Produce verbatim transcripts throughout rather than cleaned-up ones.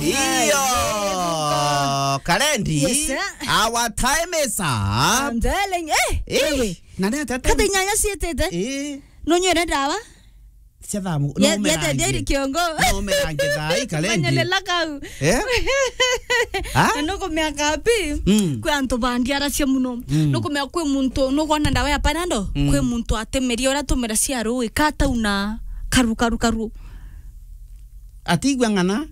Iyo. Ai, Karendi. Yes, sir. Our time is up. I'm telling, eh, eh, wewe. Na nĩ atete. Kata inyanya cietete. Eh. Nonywere ndawa? Cia thamu. Ya, no ya merangi. Tete kiongo. No merangi thai, Karendi. Manyelela kau. Eh? Ha? Na nukumea kapi, mm, kwi antu bandiaracia muno. Mm. Nukumea kwi muntu, nukwona ndawa ya Panadol? Mm. Kwi muntu atemeria uria atumira cia rui, katauna karu, karu, karu. Atigua ng'ana?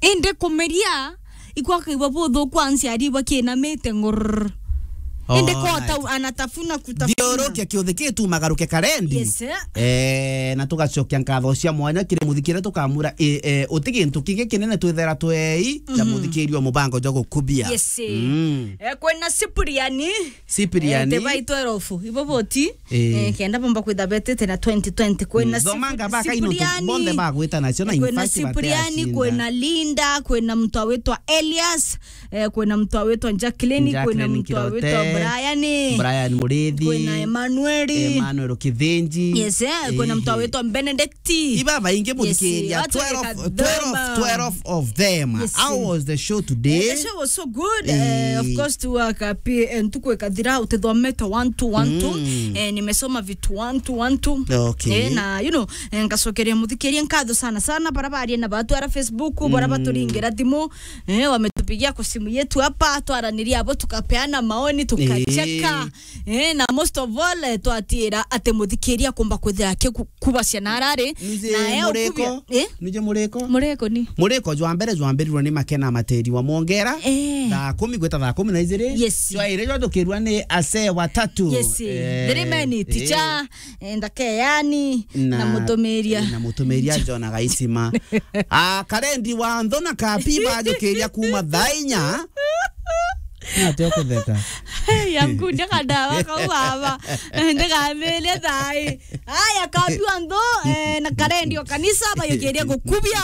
Indi kumeria, ikwakaigua buthuku anciari bakinamite ngurr. Indi alright. Kota anatafuna kutafuna. Thiurukia kiuthi kitu magaruke Karendi. Yes, sir. Eh, na tugacokia nkatho cia mwanya kiri muthikire tukamura, eh, eh, uti gintu kingi kinene twithera twei na, mhm, muthikiri wa mubango jwa gukubia. Yes, sir. Mm. Eh, kwina Cipriani. Cipriani. Eh, te bai twelve. Ibo boti. Eh. Eh, kenda bomba kwitha betete na twenty twenty. Kwina, mm, Cipriani. Thoma ngabaka ino tu-, bonthe bagwita nacio na, eh, kwina in fact Cipriani, bateacinda. Kwina Linda, kwina mtu awitwa Elias, eh, kwina mtu awitwa Jacqueline, kwina Jacqueline mtu awitwa Kirote, Brian. Brian Murithi, kwina Emmanuel. Emmanuel Kithinji. Yes, eh, kwina mtu, eh, awitwa Benedict. Iba baingi, yes, muthikiria, watu twelve, weka twelve, thoma. Twelve of them. Yes. How was the show today? Eh, the show was so good. Eh, of course, tu waka pia, eh, ntuku ikathira, utithomete one two, one two. Mm. Eh, nimesoma vitu one two, one two. Okay. Eh, na, you know, eh, ngacokeria muthikiria nkatho sana sana, bara baria na batwara Facebook, bara, mm, baturingira thimu, eh, wametupigia kwa simu yetu hapa, twaraniria abo, tukapeana maoni, tukacheka. Eh. Eh, na most of all, eh, twatiira ati muthikiria kumba kwithira akiku-, kubacia na arari. Nije na e muriko, ukubia, eh? Nije muriko. Muriko ni? Muriko jwa mbere jwambirirwe ni Makena Materi wa Mwongera. Eh. Thaa kumi gwita thaa kumi na ijiri. Yes. Jwa iri jwathukirwa ni Ase Watatu. Yes. Eh, three men, eh, Ticha, eh, Ndakeyani, na, na Mutumiria. Na Mutumiria John Agaisima. Ah, Karendi wa Nthu na Kapi bajukiria kuma thaa inya. Nate ukutheka. Hey, yangu, ndeka ndawa kau baba. Ndeka mele thai. Aya, Kapi wa Nthu, eh, na Karendi o kanisa, bajukiria gukubia.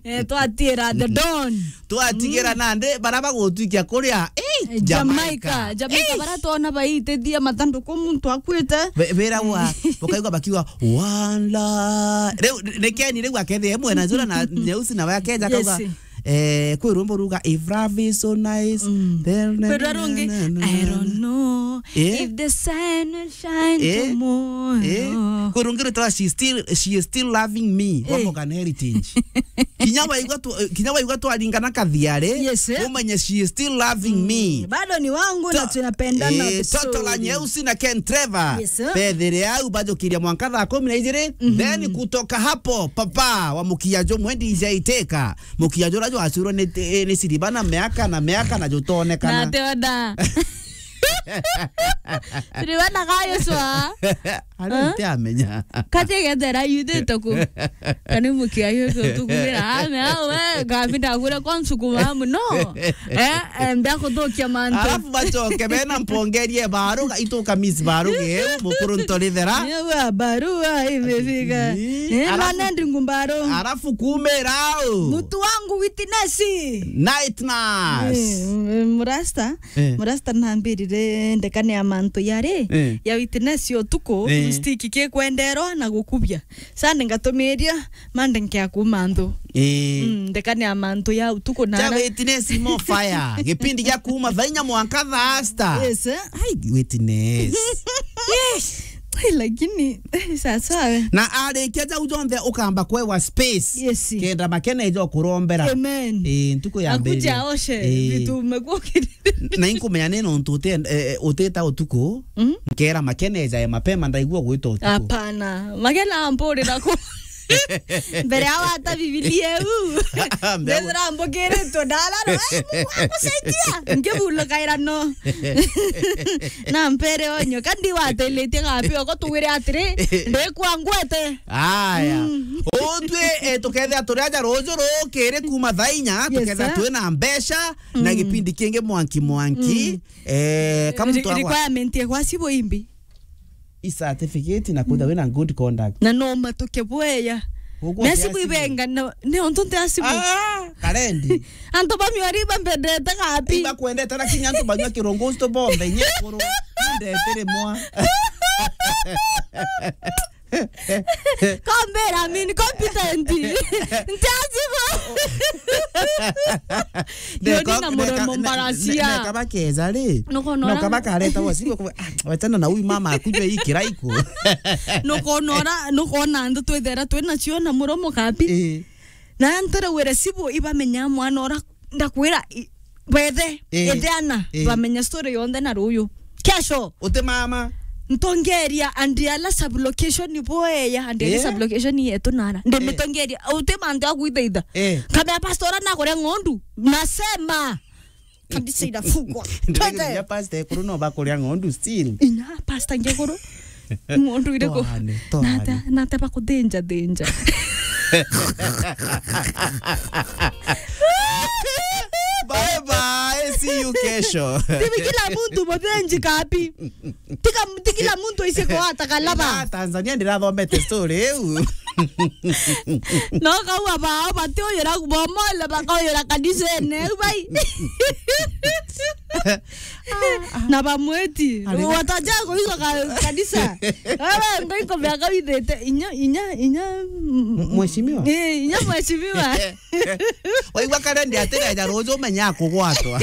Eh, twatiira the Don. Twatigira, mm, nandi, bara bagutwikia kuria, eh, eh, Jamaica. Jamaica. Jamaica, eh, bara twona baitithia mathanduku muntu akuite. Be-, bera wa, mm, bakaigua bakiuga, "One love." Riu, ni Keni riu akethire mwena jura na nyeusi na wake akeja akauga, yes, eh, kwi rwimbo ruga, "If love is so nice, mm, then na, kwirwa na, rungi, na, na, "I na, don't na." Know, eh? If the sun will shine, eh? Tomorrow. Eh? Kwi rungi rwitwa, "She still, she is still loving me," wa, eh, Morgan Heritage. Kinya waigua tu-, kinya waigua twaringana kathiari, yes, eh? Umenye she is still loving, mm, me. Bado ni wangu na tunapendana, eh, vizuri. Toto la nyeusi na Ken Trevor. Yes, sir. Bethire au bajukiria mwanka thaa kumi na ijiri. Mhm. Then kutoka hapo, papa wa mukia jumwe D J Teka. Mukia jura jwacurwa ni, ni siriba na miaka na miaka na jutonekana. Na te oda. Siriba na kayo swa. Ari, huh? Ntiamenya. Kati gethera yuthite ku. Kani mukia yuko tukumira. Ame, awe, kabi ndagure kwa nsuku mamu, no. Eh, eh, mbia kuthukia mantu. Alafu bacoke bena mpongerie baruga, ituka Miss Baruga, eh, mukuru ntorithera. Ewa, barua imefika. Ii, eh, alafu, nane ndingu mbaru. Alafu kumira au. Mtu wangu witness. Night nurse. Eh, m-, murasta. Eh. Murasta nambirire ndekane ya mantu yari, eh, ya witness ya utuku, eh, stick kikwenderwa na gukubia. Sunday ngatumiria, Monday nkea kuuma nthu. Eh. Mm, ndekane ya mantu ya utuku na cha ara. Witness more fire. Gipindi gia kuuma thaa inya mwanka thaa sita. Yes, eh? Ai, witness. Yes. Ai, lakini, eh, sasa we. Na arikia jau jonthe ukamba kwewa space. Yes. Kenda Makena eja kurombera. Amen. Eh, ntuku ya mbere. Akuja oshe, eh, vitu umekuwa ukiri- Na inkumenya ni nontu uti-, eh, utita utuku, mm, nkera Makena ejae mapema, ndaigua gwita utuku. Hapana. Makena ampurira ku. Mbere ya wata Bibilia u. Mbere ya ndethira mbukiritwe ndararo, "Eh, Mungu akusaidia." Ngibulukaira no. Na mpere onyo, kandi wateletie gapi, oko tugwire atiri, ndikwa ngwete. Aya. Mm. Utwi, eh, tukethira turi aja ruju rukiri kuma thaa inya, yes, tukethira sir, twina mbeca, na, mm, gipindi kingi mwanki mwanki. Mm. Eh, kama mtu agwa- requirement ya gwacibwa imbi? I certificate na kwithirwa wina good conduct. Na no matuke bweya. Ugwo na ti acibwa acibwa. Ibenga, no, ni untu nti acibwa. Ah, Karendi. Antu ba miori bambendete kapi. Ibakwendete, lakini antu banywa kirungu usto bombe, nye kuru. Ndetire mwa. Kombera, I mean, competent. Ntiajibu. Yo ni na muromo mbaracia. Neka bakeza ri. Nukonora. Noka bakareta wasibu kwa, ah, wachana na huyu mama akunywe hii kirai ku. Nukonora, nukona antu twithera twina cio na muromo kabi. Eh. Na ntereugire sibu ibamenya mwana ora ndakwira i-, bethe, eh, ithe ana, eh, bamenya story yonthe na ruyu. Kesho. Uti mama. Ntongeria and ala sub location boeya and ala, eh, sub location yetu nara. Eh. Ndimitongeria. Uti mantu ya kwithaitha. Eh. Kamea pastor ora nakuria ng'ondu. Nasema. Kanisa inafungwa. Twende. Ndiragiria pastor ekuru no bakuria ng'ondu still. Inya pastor ngekuru. Ng'ondu iriku? Toane, toane. Nate, nate bakuthinja thinja. Bye bye, see you kesho. Tibi kila muntu muthinji kabi. Tika, ti kila muntu aise kwata kalaba. Na Tanzania ndirathomete story iu. No kau abao batiuyira bomole bakauyira kanisene, bai. Na bamweti. Ari na wataja kuiga ka-, kanisa. Wewe ngoiko bia kawithite inya, inya, inya, mm, mheshimiwa? Eh, inya mheshimiwa. Waigua kare ndi atira ja ruju menya kugwatwa.